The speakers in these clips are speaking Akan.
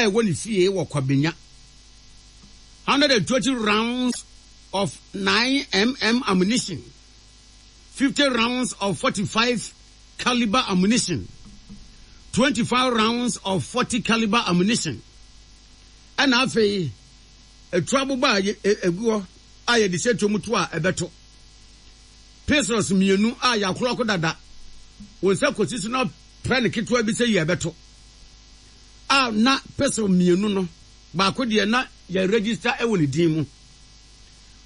ɛwɔ ne fie wɔ Kwabenya. 120 rounds of 9mm ammunition, 50 rounds of 45 caliber ammunition, 25 rounds of 40 caliber ammunition. Ɛna afei etu aboba a egu hɔ a yɛde hyɛ tuo mu to a ɛbɛto. Pistols mmienu a yɛakorɔko dada. Wɔn nsa kɔsi so na prɛ no ketewa bi sɛ yi ɛbɛto. A na pistol mmienu no baako deɛ na yɛ register wɔ ne din mu.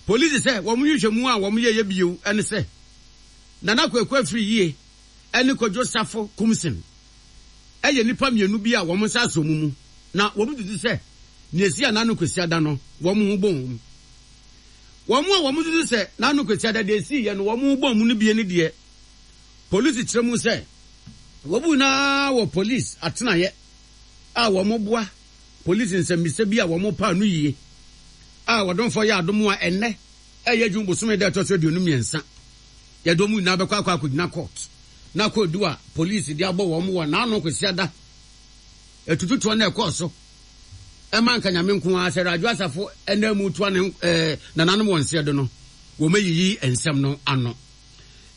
Polisi sɛ wɔn nhwehwɛmu a wɔn yɛyɛ bio ne sɛ Nana Kwaku Afriyie ne Kwadwo Safo Kumsin yɛ nnipa mmienu bi a wɔn nsa asɔ wɔn mu na wɔn susu sɛ nea esi Anano Kwasiada no wɔn ho bɔ wɔn. Wɔn a wɔn susu sɛ Nano Kwasiada deɛ esiiɛ no wɔn ho bɔ wɔn no bie ne deɛ polisi kyerɛ mu sɛ wɔn nyinaa wɔ polisi atenaeɛ a wɔn boa polisi nsɛmmisa bi a wɔn pa ano yie a wɔdomfoɔ yɛ adom a ɛnnɛ ɛyɛ June bosome da ɛtɔ so 23 yɛde wɔn nyinaa bɛkɔ akɔ akɔgyina court na kɔdu a polisi de abɔ wɔn wɔ n'ano Kwasiada atututoɔ na ɛkɔɔ so ɛma nka Nyame nko ara sɛ Radwo Asafo ɛna mu toa ne ɛɛ nananom wɔn nseɛ do no wɔn ayiyi nsɛm no ano.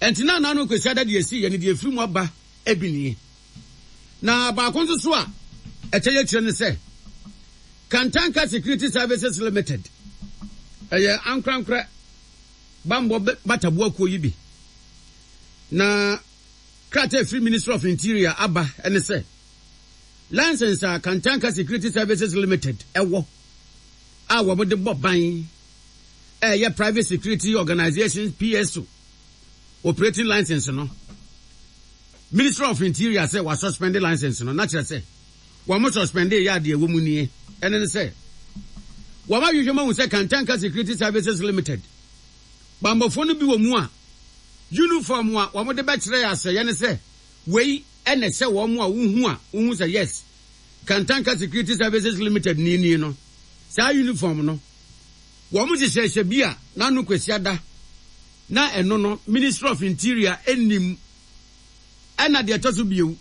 Ɛnti na n'ano Kwasiada deɛ esi yɛ ne deɛ efiri mu aba ebi nie. Na baako nso so a ɛkyɛ yɛ kyerɛ ne sɛ Kantanka Security Services Limited ɛyɛ ankorankorɛ bammɔ bataboa kuo yi bi. Na krataa efiri Ministry of Interior aba ne sɛ license a Kantanka Security Services Limited ɛwɔ a wɔn de bɔ ban ɛyɛ Private Security Organization PSO operating license no, Ministry of Interior sɛ wɔasuspend license no, na kyerɛ sɛ wɔn suspend yɛ adeɛ ɛwɔ mu nie, ɛne ne sɛ wɔn ahwehwɛ mu ahu sɛ Kantanka Security Services Limited bammɔfoɔ no bi wɔ mu a uniform a wɔn de bɛkyerɛ asɛyɛ ne sɛ wei ɛna ɛsɛ wɔn a wohu a wohu sɛ yes Kantanka Security Services Limited ni nie no, saa uniform no wɔn hyehyɛhyɛ bi a n'ano Kwasiada na ɛno no Ministry of Interior nnim. Ɛna deɛ ɛtɔ so bio,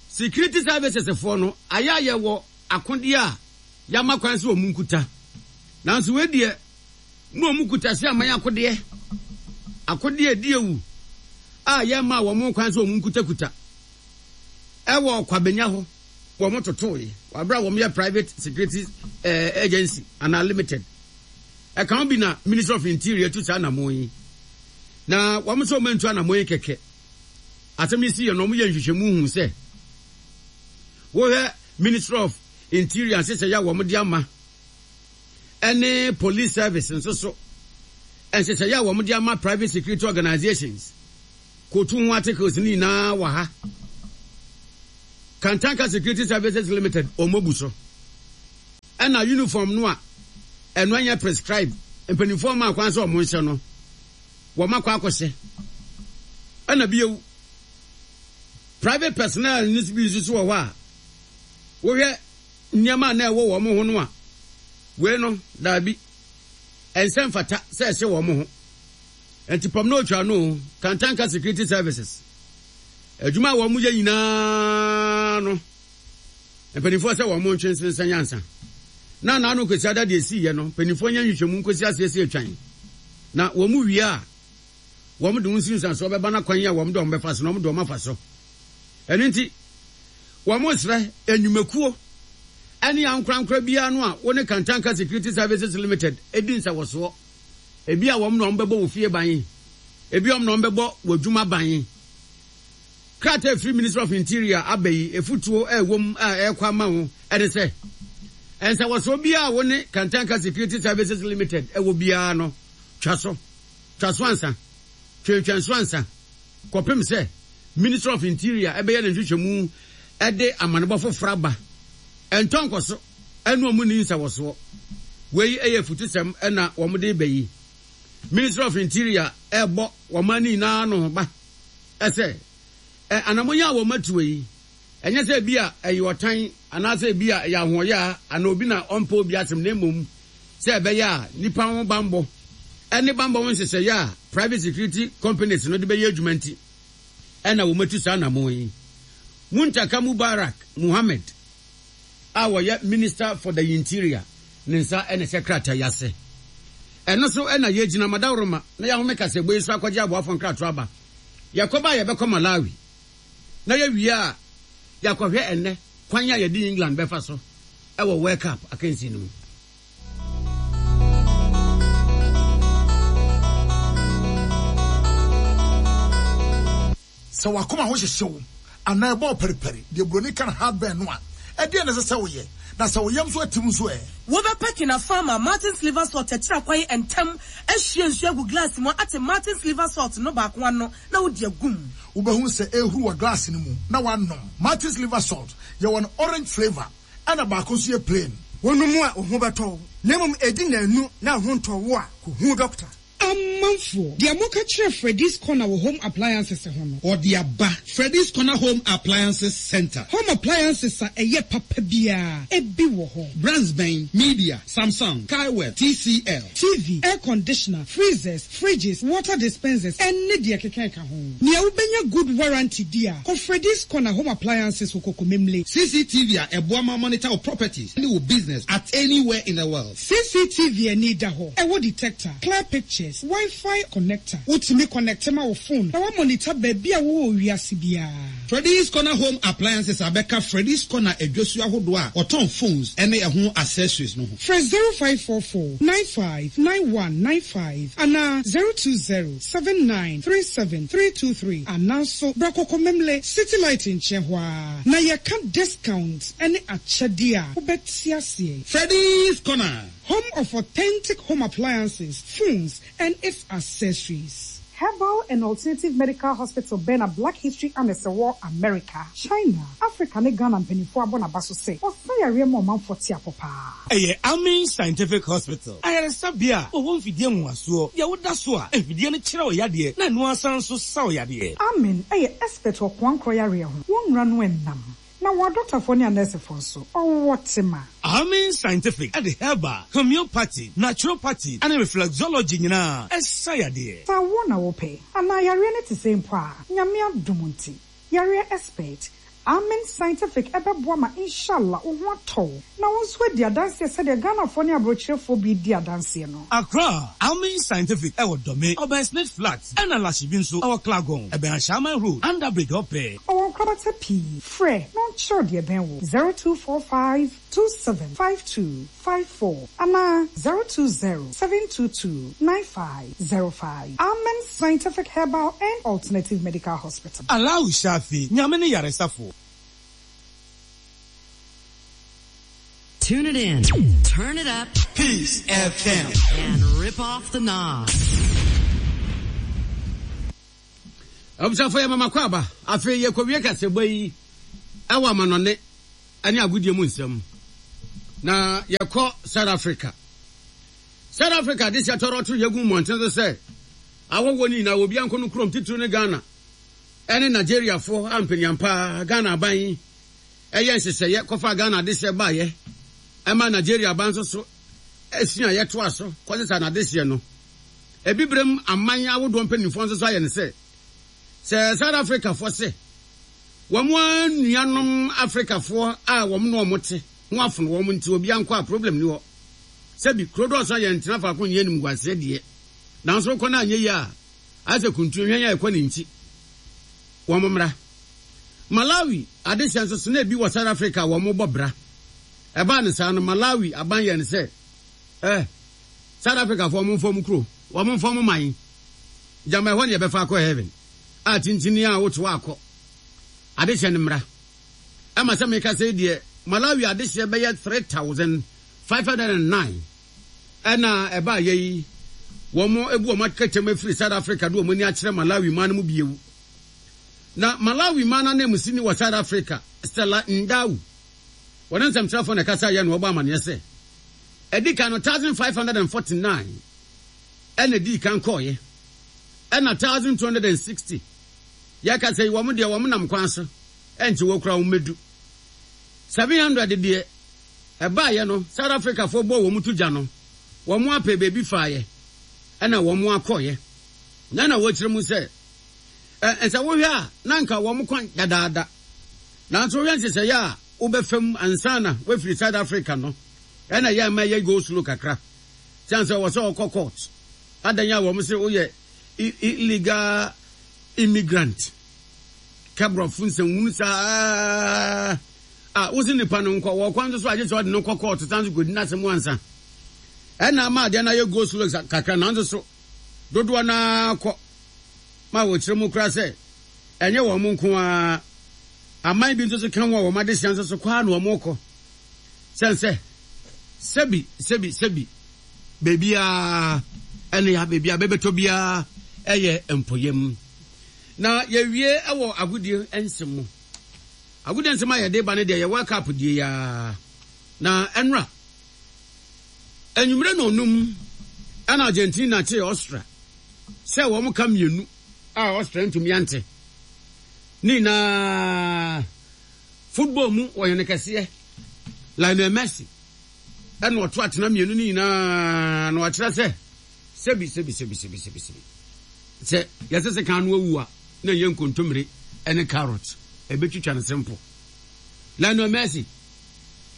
Security Services foɔ no ayɛ ayɛ wɔ akodeɛ a yɛama kwan sɛ wɔn nkuta. Nanso wei deɛ na wɔn kuta sɛ aman akodeɛ, akodeɛ a ɛdi awu a yɛmmaa wɔn kwan sɛ wɔn nkutakuta. Ɛwɔ Kwabenya hɔ wɔn totoe wɔ abere a wɔn yɛ private security eh, agency anaa limited. Ɛka ho bi na Ministry of Interior tu saa anammɔn yi. Na wɔn nso wɔn antu anammɔn yi kɛkɛ. Asɛm yi si yɛ no wɔn yɛ nhwehwɛmu hu sɛ wohwɛ Ministry of Interior nhyehyɛeɛ a wɔn de ama ɛne police service nso so nhyehyɛeɛ a wɔn de ama private security organizations Kotu ho articles no nyinaa wɔ ha. Kantanka Security Services Limited wɔn abu so. Ɛna uniform no a ɛno ɛnyɛ prescribe mpanimfoɔ maa kwan sɛ wɔn nhyɛ no wɔn akɔ akɔhyɛ. Ɛna bio private personnel no bi nso so wɔ hɔ a wohwɛ nneɛma a na ɛwɔ wɔn ho no a wei no daabi ɛnsɛ mfata sɛ ɛhyɛ wɔn ho. Enti pam na otwa no Kantanka Security Services adwuma a wɔn yɛ nyinaa no mpanimfoɔ sɛ wɔn ntwe nsensɛn ansa na n'ano Kwasiada deɛ esiiɛ no mpanimfoɔ nyɛ nhwehwɛmu nkosi aseɛ sɛ etwan na wɔn wie a wɔn de wɔn nsunsuansoɔ bɛba na kwan a wɔn de wɔn bɛfa so na wɔn de wɔn afa so. Ɛno nti wɔn srɛ nnwumakuo ɛne ankorankora biara no a wɔne Kantanka Security Services Limited edi nsawɔsoɔ. Ebia wɔn na wɔbɛbɔ wo fie ban. Ebia wɔn na wɔbɛbɔ w'adwuma ban. Krataa a ɛfiri Ministry of Interior aba yi, afutuo a ɛwɔ mu a ɛrekɔ ama wo ne sɛ, nsawɔsoɔ biara a wo ne Kantanka Security Services Limited wɔ biara no, twa so. Twa so ansa. Twentwɛn so ansa kɔpem sɛ Ministry of Interior bɛyɛ ne nhwehwɛmu de amanebɔ foforɔ aba. Ɛntɔ nkɔso. Ɛne wɔn nni nsawɔsoɔ. Wei yɛ afutusɛm na wɔn de reba yi. Ministry of Interior rebɔ wɔn ani nyinaa ano ba sɛ anamɔn yi a wɔn atuo yi, ɛnyɛ sɛ ebi a ɛyɛ ɔtan anaasɛ ebi a ɛyɛ ahoɔyaa anaa obi na ɔmpɛ obi asɛm na mmom sɛ ɛbɛyɛ a nnipa ho bammɔ ne bammɔ ho nhyehyɛeɛ a private security companies no de bɛyɛ adwuma nti ɛna wɔn atu saa anamɔn yi. Muntaka Mubarak Muhammed. a ɔyɛ Minister for the Interior ne nsa na ɛhyɛ krataa yi ase. Ɛno so na yɛgyina Madaworoma na yɛahome kaseɛbɔ yi so akɔgye aboafoɔ nkratoɔ aba. Yɛkɔba a yɛbɛkɔ Malawi na yɛwie a yɛakɔhwɛ ɛnnɛ kwan a yɛde England bɛfa so wɔ World Cup akansie no mu. Sɛ w'akoma ho hyehye wo anaa ɛbɔ wo paripari, deɛ buroni ka no heartburn no a, ɛdeɛn na ɛsɛ sɛ woyɛ? Na sɛ wo yam nso atim nso ɛ? Wobɛpɛ Kinafar ma Martin's Liver Salt akyiri akwan ntɛm ahwie nsuo agu glass mu ate Martin's Liver Salt no baako ano na wode agu mu. Wobɛhunu sɛ ɛrehuru wɔ glass no mu na woanom. Martin's Liver Salt, yɛwɔ no orange flavour ɛna baako nso yɛ plain. Wonom a, wo ho bɛtɔ wo, na mmom ɛdi nnanu na wo ho ntɔ wo a, kɔhu dɔkta. Amanfoɔ, deɛ moka kyerɛ Freddy's Corner wɔ Home Appliances ho no. Ɔde aba. Freddy's Corner Home Appliances Centre. Home appliances a ɛyɛ papa biara, ebi wɔ hɔ. Brands bɛn? Media, Samsung, Kaiwell, TCL. TV, air conditioner, freezers, fridges, water dispensers, ɛne deɛ ɛkeka ɛka ho. Nea wobɛnya good warranty di a, kɔ Freddy's Corner Home Appliances wɔ Kokomemle. CCTV a ɛboa ma monitor wo properties ne wo business at anywhere in the world. CCTV ani da hɔ, ɛwɔ detector, clear pictures, Wi-Fi connector. Wotumi connecte ma wo phone na woamonitor baabi a wowɔ wɔ wiase biara. Freddy's Corner Home Appliances abɛka Freddy's Corner adwasu ahodoɔ a wɔtɔn phones ne ɛho accessories no ho. Frɛ 0544 95 9195 anaa 020 79 37 323 anaa nso bra Kɔkɔmemle City Light nkyɛn hɔ ara na yɛka discount ne akyɛdeɛ a wobɛte aseɛ. Freddy's Corner. Home of authentic home appliances, phones and its accessories. Herbal and Alternative Medical Hospital bɛn na Black History Annex wɔ America, China, Africa ne Ghana mpaninfoɔ abɔ n'aba so sɛ ɔsa yareɛ ma ɔmanfoɔ te apɔ paa. Ɛyɛ Amin Scientific Hospital, ayaresabea a wɔwɔ mfidie nwonwasoɔ, deɛ woda so a mfidie no kyerɛ wo yadeɛ na ɛno ara san nso sa wo yadeɛ. Amin yɛ expert wɔ koankorɔ yareɛ ho, wɔn nwura no nnam. Na wɔn adɔktafoɔ ne anɛɛsefoɔ nso, wɔwɔ tema. Amin Scientific de herbal, homeopathy, naturopathy ne reflexology nyinaa sa yadeɛ. Sɛ awoɔ na wopɛ, anaa yareɛ no te sɛn mpo a, Nyame adom nti, yareɛ expert, Amen Scientific bɛboa ma Inshallah wo ho atɔ wo, na wo nso adi adanseɛ sɛdeɛ Ghanafoɔ ne aborɔkyerɛfoɔ bi redi adanseɛ no. Accra, Amen Scientific wɔ Dome, ɔbɛn Smith Flat, ɛna Lashibi nso wɔ Klagon, ɛbɛn Ashaiman Road, Under Bridge hɔ pɛɛ. Ɔwɔ nkorabata pii. Frɛ na ɔnkyerɛ wo deɛ ɛbɛn wo, 0245 27 52 54 anaa 020 722 9505. Amen Scientific Herbal and Alternative Medical Hospital. Allahu Shafi, Nyame ne yaresafo. Tune it in, turn it up, Peace FM, and rip off the knob. Abusuafo yɛ mama kɔ aba. Afei yɛkɔwie kasɛbɔ yi ɛwɔ amanɔne ne agodie mu nsɛm. Na yɛkɔ South Africa. South Africa de hyɛ tɔrɔtoro yɛgu mmɔnten so sɛ ahɔhoɔ no nyinaa obi ankɔ no kurom titiriw ne Ghana ɛne Nigeriafoɔ a mpanyinampa Ghana aban yi ɛyɛ nhyehyɛeɛ kɔfa Ghana adehyeɛ baeɛ ɛma Nigeria aban nso so esua yɛtoa so kɔsesa n'adehyeɛ no. Abibirem aman ahodoɔ mpanimfoɔ nso so ayɛ no sɛ, sɛ South Africafoɔ se wɔn ara nuanom Africafoɔ a wɔn ne wɔn te ho afono wɔn nti obiara nkɔ a problem ni hɔ. Sɛbi kuro dɔɔso a yɛntena faako nyɛ animguaseɛ deɛ, nanso wokɔ no anyɛ yie a, ayɛ sɛ kuntun hwɛn a ɛkɔ ne nti. Wɔn mmra. Malawi adehyɛ nso so na ebi wɔ South Africa a wɔbɔ bra. Ɛbaa no saa no, Malawi aban yɛɛ no sɛ, eh, South Africa foɔ ɔmo nfa ɔmo kuro, ɔmo nfa ɔmo man. Gyama ɛhɔ ne yɛbɛfa akɔ heaven. A tintini a woto akɔ. Adehyɛ no mmra. Ɛma sɛ meka sɛ deɛ Malawi adehyɛ bɛyɛ 3509 ɛna ɛbaa yɛ yi wɔn ebu wɔn akɛkyɛm afiri South Africa de wɔn ani akyerɛ Malawi man no mu biewu. Na Malawi man ananmusini wɔ South Africa, Stella Ndau, wɔne nsɛmtwerɛfoɔ na ɛkasa yɛ na wɔbɔ amaneɛ sɛ Ɛdi kan no, 1549 ɛna ɛdii kan kɔɔeɛ, ɛna 1260 yɛka sɛ yi wɔn deɛ wɔn nam kwan so ɛnkyɛ wɔ kura wɔn mɛdu. 700 deɛ ɛbaeɛ no South Africafoɔ bɔɔ wɔn to gya no wɔn apɛ baabi faeɛ ɛna wɔn akɔeɛ. Na na wɔkyerɛ mu sɛ ɛ sɛ wohwɛ a na nka wɔn kwan dadaada, nanso wohwɛ nhyehyɛeɛ a. wobɛfa mu ansa na woafiri South Africa no ɛna ɛyɛ a ɛma ɛyɛ go slow kakra. Siane sɛ ɔwɔ sɛ ɔkɔ court. Adɛn a wɔn se woyɛ illegal immigrant. Ka borɔfo nsɛnhunu saa a wose nipa no nkɔ wɔ kwan so so agye sɛ ɔde no kɔ court san so kɔdi n'asɛm ansa. Ɛna ama adeɛ no ayɛ go slow kakra nanso so dodoɔ no ara kɔ ma wɔkyerɛ mu koraa sɛ ɛnyɛ wɔn nko ara aman bi nso so ka ho a wɔn adesua nso so kɔ ara na wɔn kɔ sɛn sɛ sɛbi sɛbi sɛbi baabiara ɛne ya baabi a bɛbɛtɔ biara ɛyɛ mpɔyam na yɛwie ɛwɔ agodie nsɛm mu agodie nsɛm a yɛde ba no deɛ yɛ World Cup die yaa na ɛnora anwummerɛ na ɔnum ɛna Argentina kyee Austria sɛ wɔn ka mmienu a Austria ntumi ante ne nyinaa football mu wɔyɛ kɛseɛ Lionel Messi ɛna ɔto atena mmienu no nyinaa na wakyerɛ sɛ sɛbi sɛbi sɛbi sɛbi sɛbi sɛbi sɛ yɛsɛ sɛ kan no awu a na ɛyɛ nkontommire ɛne carrot ɛbɛtwitwa no simple. Lionel Messi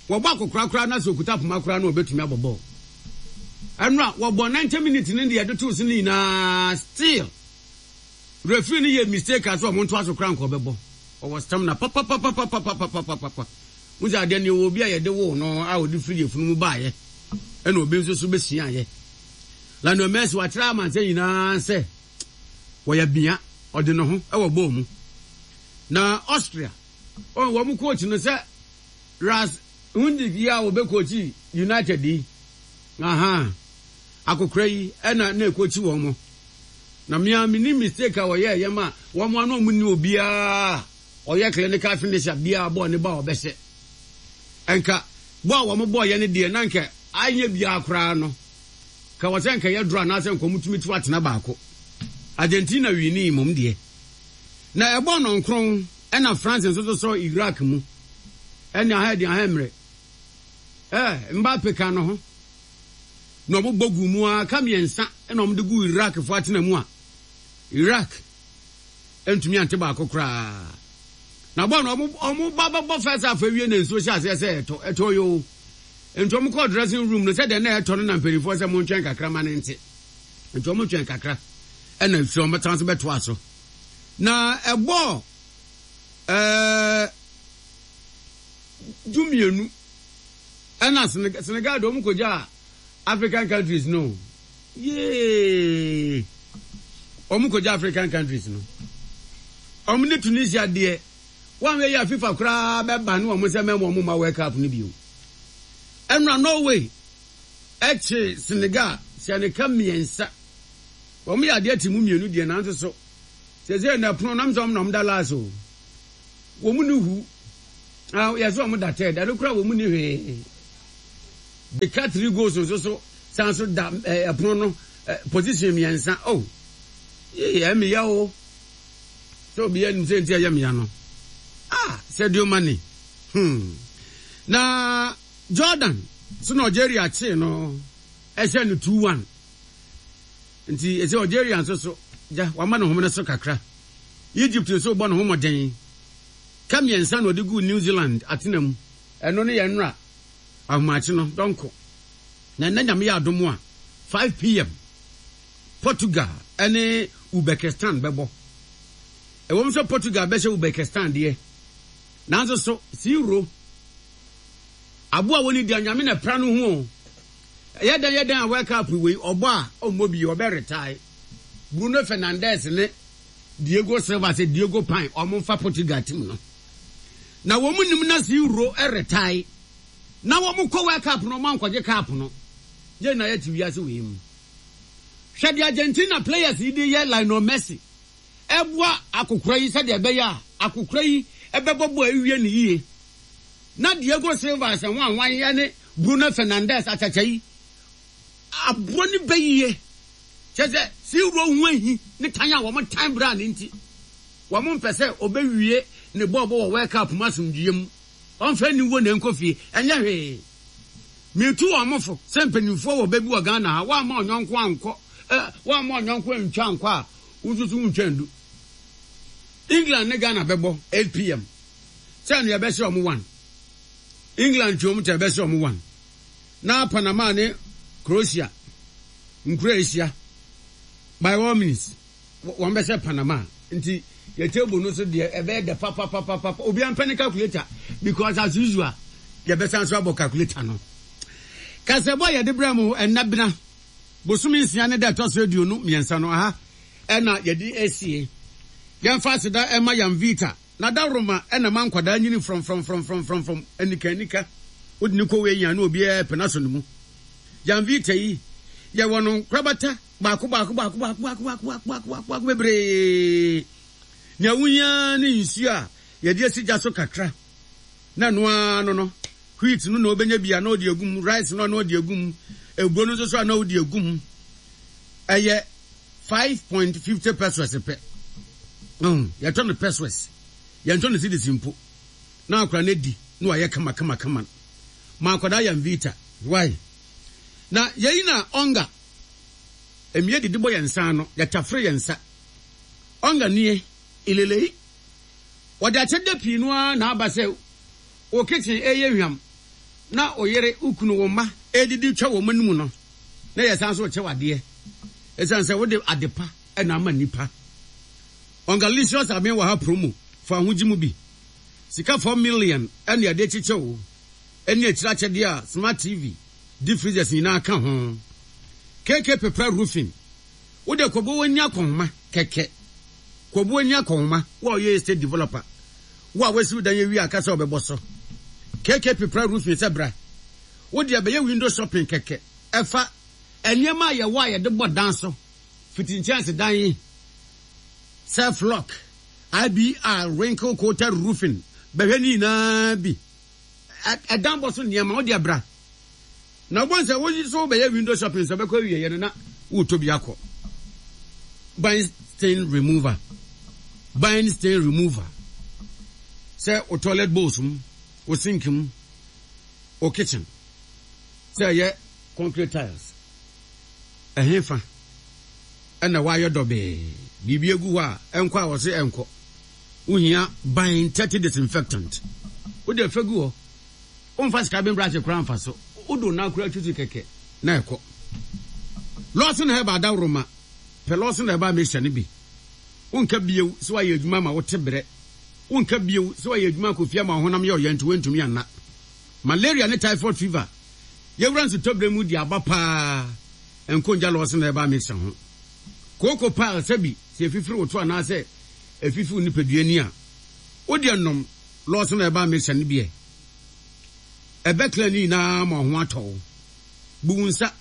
wɔbɔ akɔkora koraa na sɛ okuta poma koraa na ɔbɛtumi abɔ bɔɔl. Ɛno a wɔbɔ 90 minutes no deɛ ɛde too so no nyinaa still referee no yɛ mistake a sɛ ɔmo ntoa so koraa nka ɔbɛbɔ. Ɔwɔ stamina papapapapapapapapa. Wohu sɛ adeɛ no yɛwɔ obi a yɛde woo no a ɔde firi yafunu mu baeɛ ɛna obi nso so bɛsuaeɛ. Lionel Messi wakyerɛ amansan nyinaa sɛ wɔyɛ bea ɔde ne ho wɔ bɔɔl mu. Na Austria ɔn wɔn coach no sɛ Ras Hundik yi a wɔbɛcoachi United yi aha akokora yi ɛna na ɛcoachi wɔn mo. Na mea menim mistake a wɔyɛɛ yɛ ma wɔn ano wɔn nni obiara ɔyɛ clinical finisher biara bɔɔl ne ba a ɔbɛhyɛ. Nka bɔ a wɔn bɔɔ yɛ no deɛ na nka anyɛ biara koraa no ka wɔ sɛ nka yɛ draw anaasɛ nka wɔn tumi to atena baako. Argentina winii mmom deɛ. Na ɛbɔɔ nɔnkron ɛna France nso so sɔɔ Iraq mu. Ɛne aha ɛde aha mmerɛ. Ɛɛ Mbappe ka no ho. Na wɔn bɔ gu mu ara ka mmiɛnsa ɛna wɔn de gu Iraq fo atena mu a Iraq ntumi ante baako koraa. Na bɔɔl no wɔn ba bɛbɔ first half awie na nsuo hyɛ aseɛ sɛ ɛtɔ ɛtɔ yoo. Nti wɔn kɔɔ dressing room no sɛdeɛ na ɛtɔ no na mpanimfoɔ sɛ montwɛn kakra ma no nte. Nti wɔn twɛn kakra ɛna nsuo wɔn san so bɛtoa so. Na ɛbɔɔ ɛɛ dumienu ɛna Senegal de wɔn kɔgyaa African countries no. Yee! Wɔn kɔgya African countries no. Wɔn ne Tunisia deɛ, wɔn yɛ a FIFA koraa bɛba ne wɔn sɛ mɛma wɔn mma World Cup no bio. Ɛnora Norway ɛkye Senegal hyɛ ne ka mmiɛnsa. Wɔn yɛ adeɛ te mu mmienu deɛ nanso so. Sɛsɛ na ɛpono nam sɛ wɔn na wɔn da last o. Wɔn ni hu. Ah, yɛ sɛ wɔn da third. Ɛno koraa wɔn ni hwee. Beka 3 goals nso so san so da ɛpono no position mmiɛnsa oh yee ɛmeya o sɛ obi anim sɛ nti ɛyɛ meya no ah Sadio Mane hmm na Jordan so na Algeria kyee no ɛhyɛ no 2-1 nti ɛsɛ Algeria nso so gya wama ne homene so kakra Egypt nso bɔ ne ho mmɔden ka mmiɛnsa na ɔde guu New Zealand atena mu ɛno ne yɛn nnora Ahomakye no dɔnko na ɛnnɛ Nyame yɛ adom a 5pm Portugal ne Uzbekistan bɛbɔ. Ɛwom sɛ Portugal bɛhyɛ Uzbekistan deɛ, nanso so Siwuro, aboa a wɔnni dua, Nyame na ɛpra no ho o. Ɛyɛ dɛn yɛ dɛn a World Cup wei ɔbɔ a ɔmmɔ bio, ɔbɛ retire. Bruno Fernandes ne Diego Silva sɛ Diego Pine wɔn mfa Portugal team no. Na wɔn nim na Siwuro retire. Na wɔn kɔ World Cup no wɔn ankɔgye cup no. Yɛn nyinaa yɛte wiase wei mu. Hwɛ deɛ Argentina players yi de yɛ Lionel Messi. Ɛboa akokora yi sɛdeɛ ɛbɛyɛ a akokora yi ɛbɛbɔ bɔ awie ne yie. Na Diego Silva sɛ ho ahwan ɛne Bruno Fernandes akyakya yi aboɔ ne bɛ yie. Kyɛ sɛ Siwuro ho ahi ne tan a wɔn tan bra ne nti. Wɔn mpɛ sɛ ɔbɛwie ne bɔɔlbɔ wɔ World Cup mu asomdwoeɛ mu. Ɔmfa aniwuo na ɛnkɔ fie. Ɛnyɛ hwee. Metu wɔn fo sɛ mpanimfoɔ wɔ bɛ bi wɔ Ghana ha, woamma ɔnyɔnko ankɔ eh, woamma ɔnyɔnko antwa ankɔ a, wo nso so wontwa ndu. England ne Ghana bɛbɔ 8pm. Sɛ ɛno yɛbɛhyɛ wɔn one. England twe wɔn ta ɛbɛhyɛ wɔn 1. Na Panama ne Croatia nkuro a ɛhyia by all means wɔn bɛhyɛ Panama nti yɛ table no so deɛ ɛbɛyɛ dɛ papapapapa obiara mpɛ ne calculator because as usual yɛbɛsan so abɔ calculator no. Kasɛbɔ a yɛde brɛ mo ɛnɛ bena bosome nsia ne da ɛtɔ so 23 no aha ɛna yɛde asie. Yɛmfa aseda ɛma Yamvita na dawroma ɛna ma nkwadaa nyini frɔmfrɔmfrɔmfrɔmfrɔm anika anika wode ne kɔ wei nya na obiara pɛ n'asɔ ne mu. Yamvita yi yɛwɔ no nkorabata baako baako baako baako baako baako baako baako baako baako bebree. Nea wohia ne nsuo a yɛde asi gya so kakra na ɛno ara no no wheat no na wobɛnya bi a na ɔde agu mu, rice no a na ɔde agu mu, eburo no nso so a na ɔde agu mu. Ɛyɛ 5.50 pesos pɛ. Yɛtɔ no pesos, yɛntɔ no cedis mpo. Na akora no adi na wayɛ kama kama kama. Ma akwadaa yɛ vita. Why? Na yɛyi na ɔnga. Mmea didi bɔ yɛn nsa ano, yɛtafere yɛn nsa. Ɔnga nie, ilelei. Wɔde akyɛdeɛ pii no ara na aba sɛ wo kitchen reyɛ hwam na wo yere, wo kunu, wo mma redidi twa wɔn anim no, na yɛsan nso rekyɛ wo adeɛ. Ɛsiane sɛ wode adepa na ama nnipa. Ungalicious Aben wɔ ha promo, fa wo ho gye mu bi. Sika 4 million na yɛde rekyekyɛ wo, ɛne akyire akyɛdeɛ a smart TV, deep freezers nyinaa ka ho. KK Pepra Roofing, wode kɔbɔ w'ani akɔnhoma kɛkɛ. Kɔbɔ w'ani akɔnhoma, wo a woyɛ estate developer. Wo a woasiw dan awie a ka sɛ wobɛbɔ so. KK Pepra Roofing sɛ bra. Wo deɛ bɛyɛ window shopping kɛkɛ. Ɛfa nneɛma a yɛwɔ a yɛde bɔ dan so, fiti nkyɛnsedan yi, self lock, IBR, wrinkle coated roofing, bɛhwɛ ne nyinaa bi. Ɛdan bɔ so nneɛma, wo deɛ bra. Na wobɛhu sɛ wo nso wobɛyɛ window shopping sɛ wobɛkɔ awieɛ no na woretɔ bi akɔ. Bind stain remover. Bind stain remover. Sɛ wo toilet bowls mu, wo sink mu, wo kitchen, sɛ ɛyɛ concrete tiles, ɛhefa ɛna woayɛ dɔbee, biribi agu hɔ a ɛnkɔ a wɔse ɛnkɔ. Wohia bind 30 disinfectant. Wode fa gu hɔ. Womfa sika ben brush koraa mfa so. Wode wo nan koraa twitwi kɛkɛ na ɛkɔ. Lawson Herbal adaworoma, pɛ Lawson Herbal mixture no bi. Wonka bio sɛ woayɛ adwuma ma wote brɛ. Wonka bio sɛ woayɛ adwuma akɔ fie ama wo honam yɛ ɔya nti woantumi anna. Malaria ne typhoid fever, yɛwura nsutɔberɛ mu di aba paa, ɛnkɔ ngya Lawson Herbal mixture ho. Kooko pile sɛbi sɛ ɛfifiri wo to anaasɛ ɛfifi wo nipadua ani a, wodeɛ nom Lɔɔso na ɛba mixture no bi ɛ. Ɛbɛ clear ne nyinaa ma ɔho atɔ wo. Bu wo nsa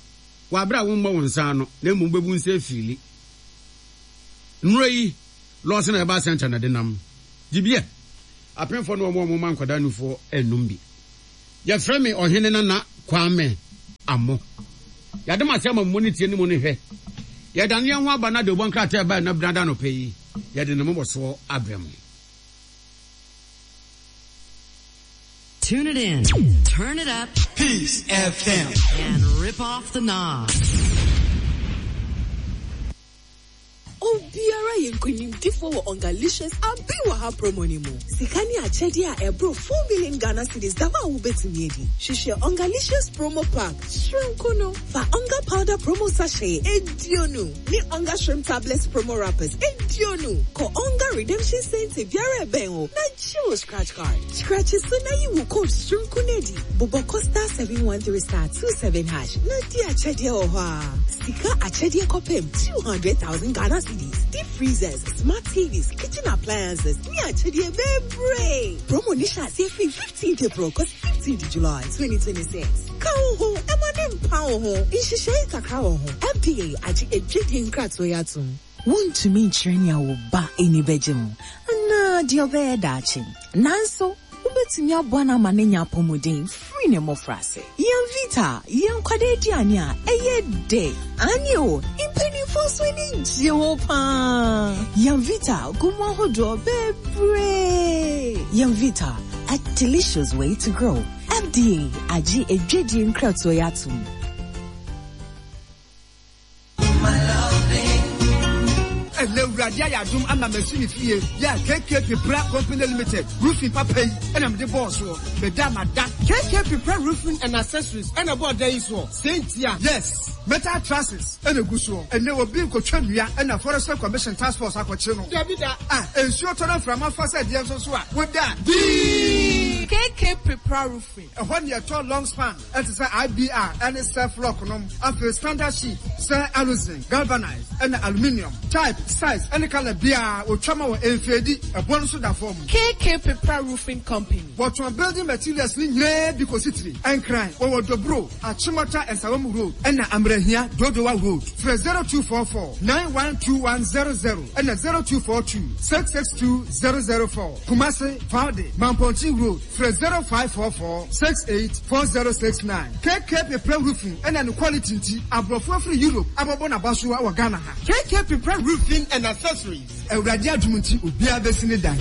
wɔ abere a wommɔ wo nsa ano na mmom wobɛbu nsa afiili. Nnuro yi, Lɔɔso na ɛba center na ɛde nam. Gye bi ɛ. Apemfoɔ ne wɔn a wɔma nkwadaa nufoɔ nnom bi. Yɛfrɛ me Ɔhene Nana Kwame Amoh. Yɛada mo ase ama mo ne tie ne mo ne hwɛ. Yɛdane yɛn ho aba na dawubɔ nkrataa ɛbae nnɛ benada anɔpa yi, yɛde ne mmobɔsoɔ abrɛ mo. Tune it in, turn it up, Peace FM, and rip off the knob. Obiara yɛ nkonimdifoɔ wɔ Ongalicious Abi Wɔ Ha promo no mu. Sika ne akyɛdeɛ a ɛboro 4 million Ghana cedis da hɔ a wobɛtumi adi. Hwehwɛ Ongalicious promo pack soronko no. Fa Onga powder promo sachet 20 ne Onga shrimp tablets promo wrappers 20. Kɔ Onga redemption center biara a ɛbɛn wo na gye wo scratch card. Scratch so na yi wo code soronko no adi. Bobɔ kɔ star 713 star 27 hash na di akyɛdeɛ wɔ hɔ ara. Sika akyɛdeɛ kɔpem 200,000 Ghana cedis, deep freezers, smart TVs, kitchen appliances ne akyɛdeɛ bebree. Promo no hyɛ aseɛ firi 15th April kɔsi 15th July 2026. Ka wo ho ma ne mpa wo ho. Nhyehyɛe kakra wɔ ho. FDA agye adwadie nkratoɔ yi atom. Wuntumi nkyerɛ nea wo ba ani bɛgye ho anaa deɛ ɔbɛyɛ daakye. Nanso, wubetumi aboa no ama no anya apɔwmuden firi ne mmofraase. Yɛn Vita yɛ nkwadaa aduane a ɛyɛ dɛ. Aane o, mpanimfoɔ nso ani gye ho paa. Yɛn Vita gu mu ahodoɔ bebree. Yɛn Vita, a delicious way to grow. FDA agye adwadie nkratoɔ yi atom. Ɛnɛ Awurade. Awurade ayɛ adom ama masi me fie yɛ a KK Pepra Company Limited roofing papa yi na mede bɔɔ soɔ. Meda mada. KK Pepra Roofing and Accessories na ɛbɔɔ dan yi soɔ? Sei ntia? Yes, metal trusses na ɛgu soɔ. Ɛnnɛ obi rekɔtwa nnua na Forestry Commission task force akɔkye no. Dabi da. Ah, nsuo tɔ na mframa fa sɛ deɛ nso so a, woda a, dii! KK Pepra Roofing. Ɛhɔ na yɛtɔ long span te sɛ IBR ne Self-Lock nom, afei standard sheet sɛ aluzinc, galvanized ɛna aluminium. Type, size ne colour biara wɔtwa ma wɔ ɛnfeedi, ɛboɔ no nso da fam. KK Pepra Roofing Company. Wɔtɔn building materials no nyinaa bi kɔsi tiri, Nkran, wɔwɔ Dobro, Achimota Nsawam Road ɛna Amrahia, Dodowa Road. Frɛ 0244 912100 ɛna 0242 662 004. Kumasi, Faude, Mampɔnten Road. Frɛ 0544 68 4069. KK Pepra Roofing ɛna ne quality nti aborɔfo afiri Europe abɔbɔ n'abaso wɔ Ghana ha. KK Pepra Roofing and Accessories. Awurade adom nti obiara bɛsi ne dan.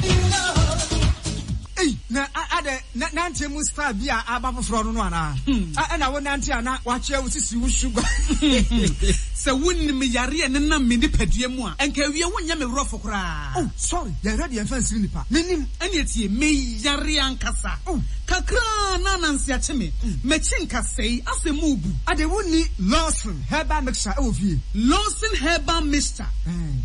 Ei na adɛn na nanteɛ mu style bi a aba foforɔ no no anaa? Ɛna wo nante a na wakyea wo sisi wo sugar. Sɛ wonim yareɛ a ɛnenam me nipadua mu a, nka awie wonyɛ me worɔfo koraa. Oh sorry, yɛhwɛ deɛ mfa nsiri nipa. Mennim. Ɛneɛ tie, me yare ankasa. Oh. Kakra na ananse akye me. M'akyi nkasɛe, asɛ mu rebu. Ade wonni Lawson herbal mixture wɔ fie? Lawson herbal mixture,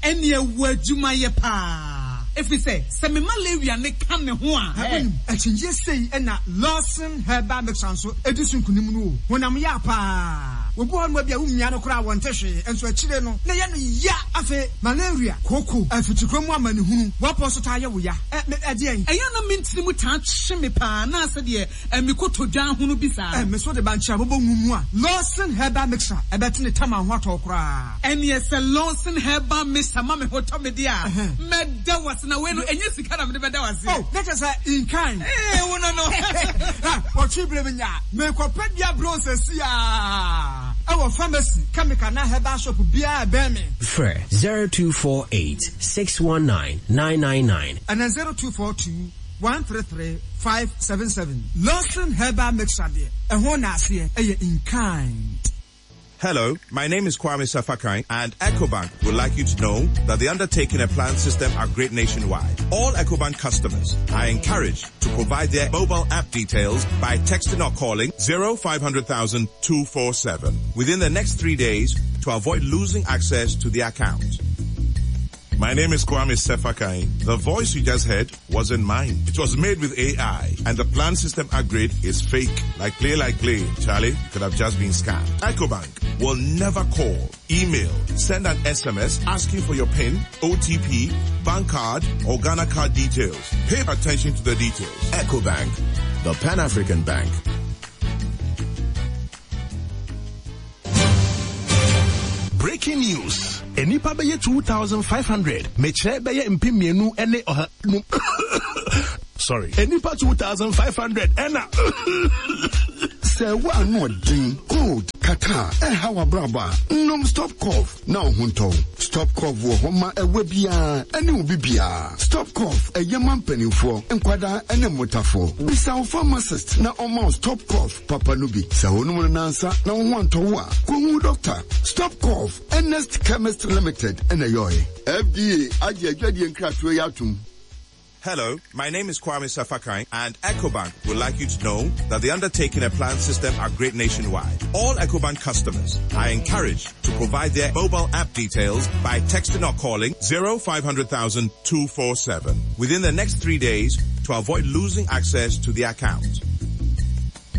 ɛneɛ wɔ adwuma yɛ paa. Ɛfiri sɛ, sɛ me malaria no ka ne ho a. Wonim, akyinnyeɛ sei na Lawson herbal mixture nso di so nkunim no o. Honam ya paa. Obi wɔ hɔnom a ebia womia no koraa a wɔnte hwee, nso akyire no na ɛyɛ no ya. Afei malaria, kooko, afikyikɔ mu amanehunu, w'apɔ nso taa yɛ wo ya. Ɛ, me, ɛdeɛn? Ɛyɛ a na me ntini mu taa twe me paa na sɛdeɛ ɛ, me kotodwe ahono bi saa. Ɛ, me nso de bankye a bobɔ ngu mu a, Lawson Herbal Mixture, ɛbɛte ne tam a ho atɔ wo koraa. Ɛneɛ sɛ Lawson Herbal Mixture ma me ho tɔ me deɛ a, mɛda wo ase. Na wei no, ɛnyɛ sika na mede bɛda wo aseɛ. Oh, na kyerɛ sɛ in kind. Ee, wo no no. Ha, wɔtwe berɛ menya a, merekɔpɛ dua bronze asi a, ɛwɔ pharmacy, chemical anaa herbal shop biara a ɛbɛn me. Frɛ 0248 619 999. Anaa 0242 133 577. Lawson Herbal Mixture deɛ, ɛho naaseɛ yɛ in kind. Hello, my name is Kwame Safakai and EcoBank would like you to know that they undertaking a planned system upgrade nationwide. All EcoBank customers are encouraged to provide their mobile app details by texting or calling 0500 247 within the next three days to avoid losing access to the account. My name is Kwame Sefakai. The voice you just heard wasn't mine. It was made with AI and the plan system upgrade is fake. Like play, like play. Charlie, you could have just been scammed. EcoBank will never call, email, send an SMS asking for your PIN, OTP, bank card, or Ghana card details. Pay attention to the details. EcoBank, the Pan-African Bank. Breaking news, Nnipa bɛyɛ 2,500, mekyerɛ bɛyɛ 2,200 ne ɔha num sorry, nnipa 2,500 ɛna Sɛ wo ano ɔden, cold, catarrh, ɛha w'abrabɔ a, nom Stop Cough na wo ho ntɔ wo. Stop Cough wɔ hɔ ma ɛwa biara ɛne obi biara. Stop Cough ɛyɛ ma mpanimfoɔ, nkwadaa ɛne mmotafoɔ. Bisa wo pharmacist na ɔmma wo Stop Cough papa no bi. Sɛ wonom no nnansa na wo ho antɔ wo a, kɔhu wo dɔkta. Stop Cough, Ernest Chemist Limited na ɛyɔe. FDA agye adwadie nkratoɔ yi atom. Hello, my name is Kwame Safakai and EcoBank would like you to know that they undertaking a planned system upgrade nationwide. All EcoBank customers are encouraged to provide their mobile app details by texting or calling 0500 247 within the next three days to avoid losing access to the account.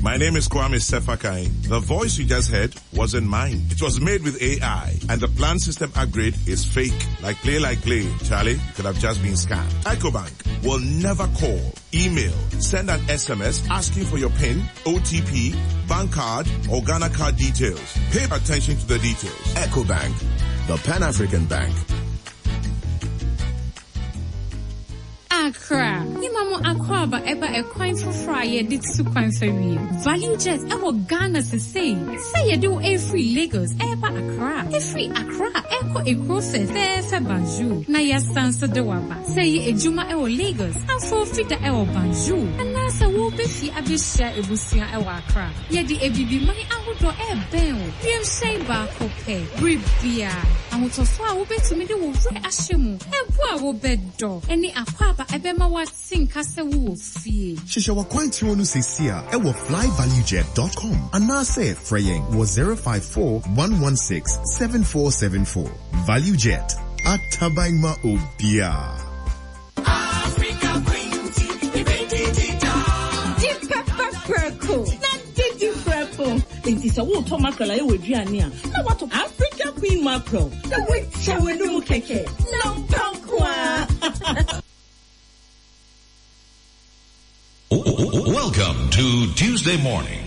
My name is Kwame Sefakai. The voice you just heard wasn't mine. It was made with AI and the plan system upgrade is fake. Like play, like play. Charlie, you could have just been scammed. EcoBank will never call, email, send an SMS asking for your PIN, OTP, bank card, or Ghana card details. Pay attention to the details. EcoBank, the Pan-African Bank. Accra, Yɛma mo akwaaba ɛba ɛkwan foforɔ a yɛde tu kwan fa wiem. Value Jet ɛwɔ Ghana sesei. Sɛ yɛde wo ɛrefiri Lagos ɛreba Accra, ɛfiri Accra ɛrekɔ ekuro fɛfɛɛfɛ Banjul, na yɛasan nso de wo aba. Sɛ ɛyɛ adwuma ɛwɔ Lagos, afo fida ɛwɔ Banjul, anaa. Anaasɛ woreba fie abɛhyia abusua wɔ Accra? Yɛde Abibiman ahodoɔ rebɛn wo. Wiemhyɛn baako pɛ, bere biara. Ahotɔsoɔ a wobɛtumi de wo werɛ ahyɛ mu, ɛbo a wobɛdɔ, ne akwaaba a ɛbɛma woate nka sɛ wowɔ fie. Hyehyɛ w'akwantuo no seesei ara wɔ flyvaluejet dot com anaasɛ frɛ yɛn wɔ 054 116 7474. ValueJet, ataban ma obiara. Di pɛpɛ prɛko na didi prɛko. Enti sɛ woretɔ mackerel ayɛ w'aduane a, na woatɔ Africa Queen mackerel na woakyɛ w'anum kɛkɛ. Na mpa nko ara. Welcome to Tuesday morning.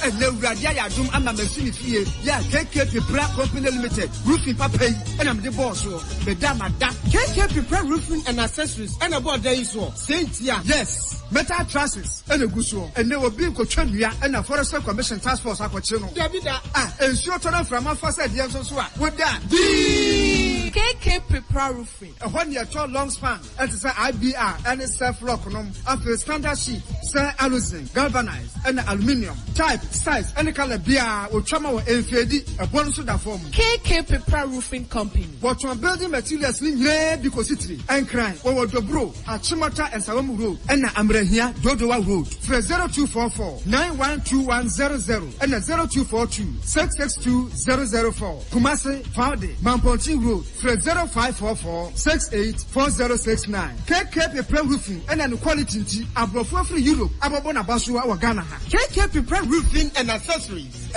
Ɛnɛ Awurade ayɛ adom ama masi me fie yɛ a KK Pepra Company Limited roofing papa yi ɛna mede bɔɔ soɔ. Meda mada. KK Pepra Roofing and Accessories ɛna ɛbɔɔ dan yi soɔ. Sei ntia? Yes, metal trusses ɛna egu soɔ. Ɛnɛ obi nkotwa nnua ɛna Forestry Commission task force akɔkye no. Dabi da. Ah, nsuo tɔ na mframa fa sɛ deɛ nso so a, woda a, dii! KK Pepra Roofing. Ɛhɔ ne yɛtɔ long span. Ɛte sɛ IBR ne Surf Lock nom, afei standard sheet sɛ aluzinc, galvanized ɛna aluminium. Type, size ɛne colour biara wɔtwa ma wɔ ɛnfeedi, ɛboɔ no nso da fam. KK Pepra Roofing Company. Wɔtɔn building materials no nyinaa bi kɔsi tiri. Nkran, wɔwɔ Dobro, Achimota Nsawam Road ɛna Amrahia, Dodowa Road. Frɛ 0244 912100 ɛna 0242 662 004. Kumasi, Faude, Mampɔnten Road. Frɛ 0544 68 4069. KK Pepra Roofing ɛna ne quality nti abrɔfo afiri Europe abɛbɔ n'abasoa wɔ Ghana ha. KK Pepra Roofing and Accessories.